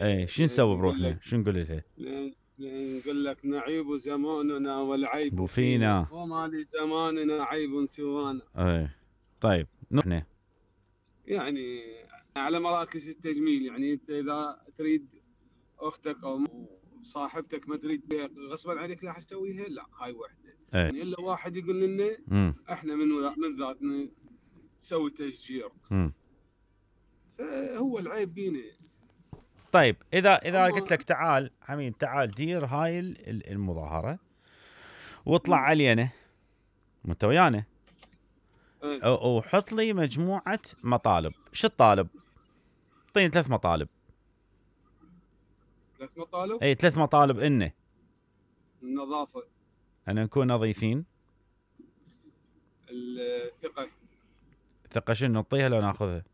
اي شو نسوي بروحنا؟ شو نقول لها؟ نقول لك نعيب زماننا والعيب فينا وما لزماننا عيب سوانا. اي طيب نحن يعني على مراكز التجميل، يعني انت اذا تريد اختك او صاحبتك ما تريد بها غصبا عليك راح تسويها، لا هاي وحده. اي يعني الا واحد يقول لنا احنا من ذاتنا نسوي تشجير، فهو العيب بينا. طيب اذا قلت لك تعال حميد، تعال دير هاي المظاهره واطلع علينا وانت ويانا وحط لي مجموعه مطالب. شو الطالب؟ اعطيني 3 مطالب. 3 مطالب؟ اي 3 مطالب. انه النظافه، ان نكون نظيفين، الثقه. ثقه شنو نعطيها لو ناخذها؟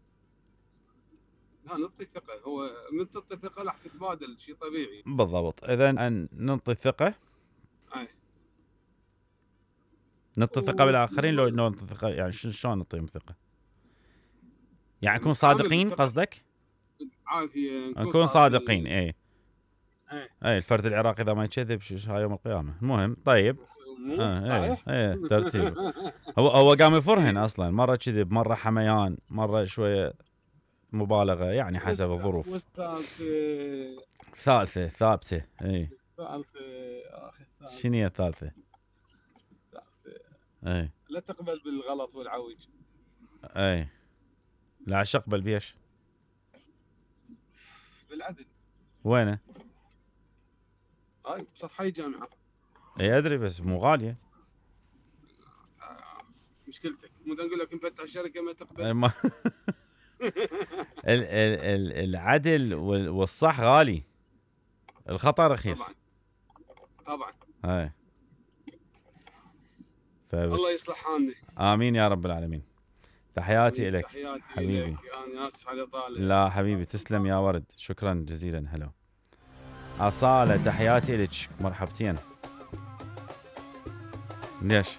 لا نعطي ثقه، هو من تعطي ثقه راح تتبادل، شيء طبيعي. بالضبط. اذا ان نعطي الثقه، نعطي ثقه بالاخرين. لو نعطي ثقه يعني شلون نعطيهم ثقه؟ يعني نكون صادقين قصدك؟ عافيه نكون صادقين. اي الفرد العراقي اذا ما يكذب هاي يوم القيامه. المهم طيب صحيح. اي ترتيب. هو قام يفرهن اصلا، مره كذب، مره حميان، مره شويه مبالغه، يعني حسب الظروف. والثالثه ثابته. اي شنو هي الثالثه؟ اي لا تقبل بالغلط والعوج. اي لا اقبل بيش؟ بالعدل. وينه؟ هاي بسطحي جامعه. اي ادري بس مو غاليه. مشكلتك مو نقول لك نفتح شركه ما تقبل. العدل والصح غالي، الخطا رخيص. طبعا هاي الله يصلح حالنا. امين يا رب العالمين. تحياتي لك حبيبي. انا اسف على طالع. لا حبيبي تسلم يا ورد، شكرا جزيلا. هلا أصالة، تحياتي لك، مرحبتين. ليش؟